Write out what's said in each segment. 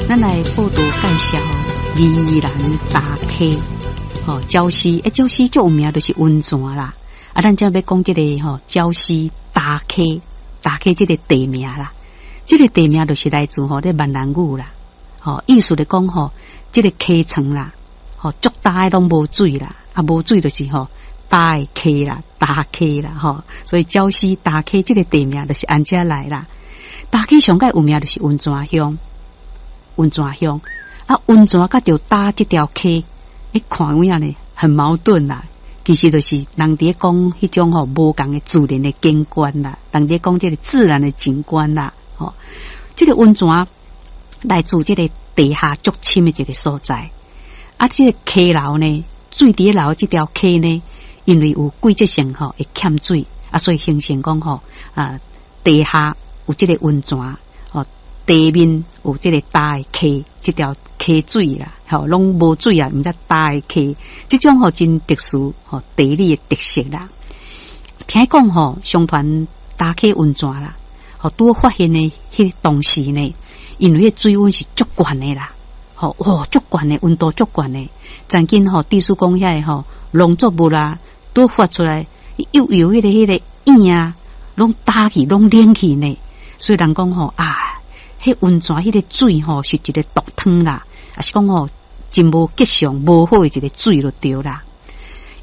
咱來報道介紹宜蘭大溪吼礁溪，欸，礁溪足有名就是溫泉啦。啊，咱這欲講這个吼礁溪大溪，大溪這个地名啦，這个地名就是來自吼咧閩南語啦。吼，意思咧講吼，這个溪床啦，吼足焦的攏無水啦，啊無水就是吼焦的溪啦，焦溪啦，吼，所以礁溪大溪這个地名就是按這來啦。大溪上蓋有名就是溫泉鄉。溫泉鄉啊，溫泉佮著焦這條溪，欸，看有影呢，很矛盾啦。其實就是人佇咧講彼種吼無仝的自然的景觀啦，人佇咧講這个自然的景觀啦。吼，這个溫泉來自這个地下足深的一个所在。啊，這个溪流呢，水佇咧流這條溪呢，因為有季節性吼會欠水，啊，所以形成講吼啊，地下有這个溫泉。地面有這个焦的溪，這條溪水啦，吼，攏無水啊，毋才焦的溪，這種吼真特殊吼地理的特色啦。聽講吼，相傳大溪溫泉啦，吼拄發現的彼當時呢，因為彼水溫是足懸的啦，吼哇足懸的溫度足懸的，曾經吼，地書講遐个吼農作物啦，拄發出來幼幼彼个葉啊，攏焦去，攏冷去呢，所以人講吼啊。彼溫泉彼个水吼是一个毒湯啦，抑是講吼真無吉祥、無好的一个水就對啦。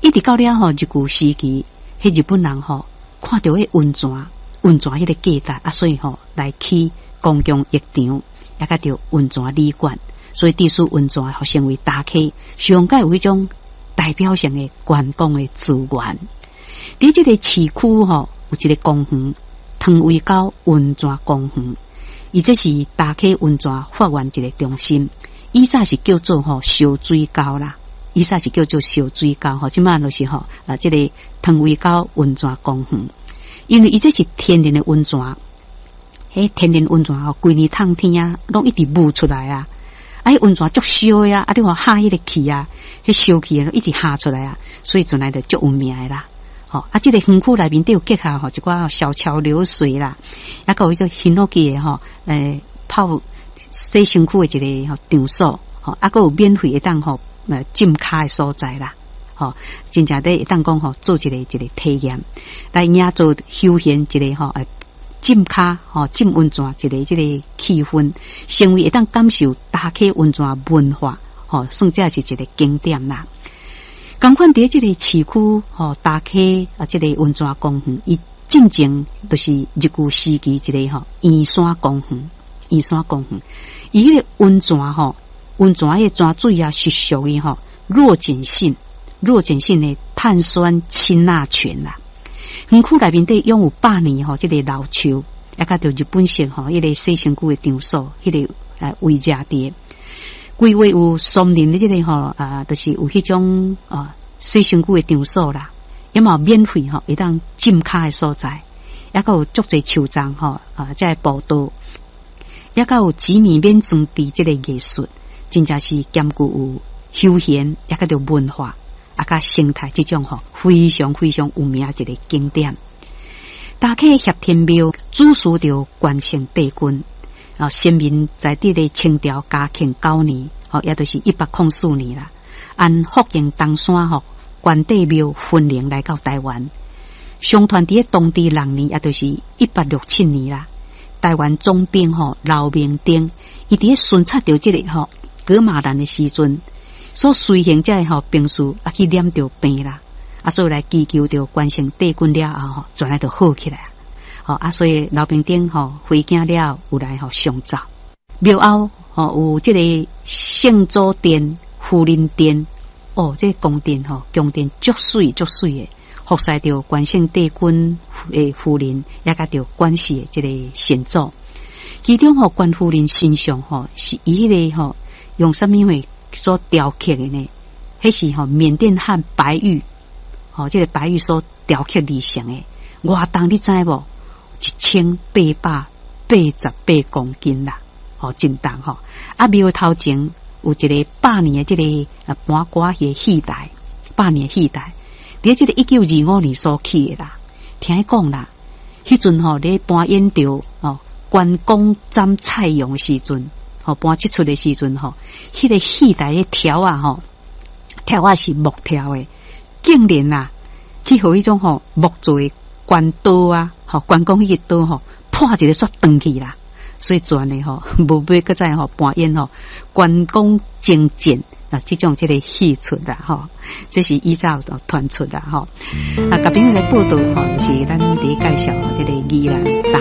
一直到了吼日據時期，彼日本人吼看著彼溫泉，溫泉彼个價值啊，所以吼來起公共浴場，也佮著溫泉旅館，所以致使溫泉予成為大溪上蓋有彼種代表性的觀光的資源。佇這个市區吼有一个公園，湯圍溝溫泉公園。伊這是大溪溫泉發源一个中心，以前是叫做吼燒水溝啦，以前是叫做燒水溝吼，這馬就是吼啊，這个湯圍溝溫泉公園，因為伊這是天然的溫泉，彼天然溫泉吼，規年冬天啊，攏一直冒出來啊，啊，彼溫泉足燒的啊，啊，你看哈彼个氣啊，彼燒氣啊，一直哈出來啊，所以陣來就足有名的啦。吼啊！這个園區內面底有結合吼一寡小橋流水啦，抑閣有彼個ヒノキ的吼，欸，泡洗身軀的一個吼場所，吼啊，閣有免費會當吼浸跤的所在啦，吼，真正佇會當講吼做一个一个體驗，來營造休閒一个吼浸跤吼浸溫泉一个這个氣氛，成為會當感受大溪溫泉文化，吼，算這是一个景點啦。仝款佇這个市區吼，大溪啊，這个溫泉公園，伊進前就是日據時期一个吼圓山公園，圓山公園，伊彼个溫泉吼，溫泉彼个泉水啊是屬於吼弱鹼性、弱鹼性的碳酸氫鈉泉啦。園區內面底擁有百年吼這个老樹，抑佮著日本式吼彼个洗身軀的場所，彼个圍遮佇。規劃有松林的這个吼啊，就是有彼種啊洗身軀的場所啦，也嘛有免費吼會當浸跤的所在，抑閣有足濟樹叢吼啊，這个步道，抑閣有幾米免裝置這个藝術，真正是兼顧有休閒，抑閣著文化，啊，佮生態這種吼非常非常有名一个景點。大溪協天廟主祀著關聖帝君。啊，先民在佇咧清朝嘉慶九年，吼，也就是104年啦。按福建東山吼關帝廟分靈來到台灣，相傳佇咧同治六年，也就是1867年啦。台灣總兵吼劉明燈，伊佇咧巡查著這个吼噶瑪蘭的時陣，所隨行這个吼兵士啊去染著病啦，啊，所以來祈求著關聖帝君了後吼，轉來就好起來。吼啊，所以劉明燈吼回京了後，有來吼上奏廟後吼有這个聖祖殿、夫人殿，哦，這个宮殿吼宮殿足媠足媠的，服侍著關聖帝君的夫人，也佮著關氏的這个先祖。其中吼關夫人神像吼是以彼个吼用啥物貨所雕刻的呢？彼是吼緬甸漢白玉，吼這个白玉所雕刻而成的。偌重你知無？1888公斤啦，吼真重吼。啊，廟頭前有一个百年的這个啊搬歌戲的戲台，百年戲台，佇這个1925年所起的啦。聽講啦，彼陣吼咧搬演著哦關公斬蔡邕的時陣，吼，搬這齣的時陣吼，彼個戲台的柱仔吼，柱仔是木柱的，竟然啊，去予彼種吼木做的關刀啊，吼關公彼個刀吼，破一个煞斷去啦。所以全的吼，無尾閣再吼搬演吼關公征戰啊，這種這个戲出啦吼，這是以早傳出啦吼。啊，共朋友來報道吼，就是咱佇介紹這个宜蘭大